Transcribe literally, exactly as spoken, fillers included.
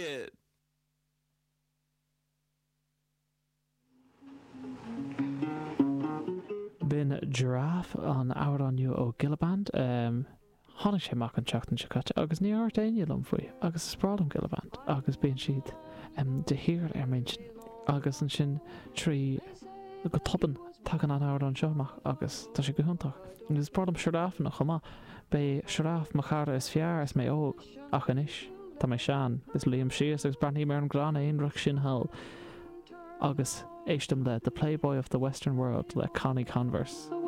Kid. B'in Giraffe an amhrán nua ó Gilla Band. Tháinig sé amach an tseachtain seo caite agus níor dhúirt éinne liom faoi agus is breá liom Gilla Band agus bíonn siad de shíor ar m'intinn agus ansin trí go tobann tagann an amhrán seo amach agus tá sé go hiontach. Agus is breá liom sioráfanna chomh maith. B'é sioráf mo chara is fearr is mé óg ach anois tá mé sean is luím síos agus breathnaím ar an gcrann aonrach sin thall agus éistim le The Playboy of the Western World le Connie Converse.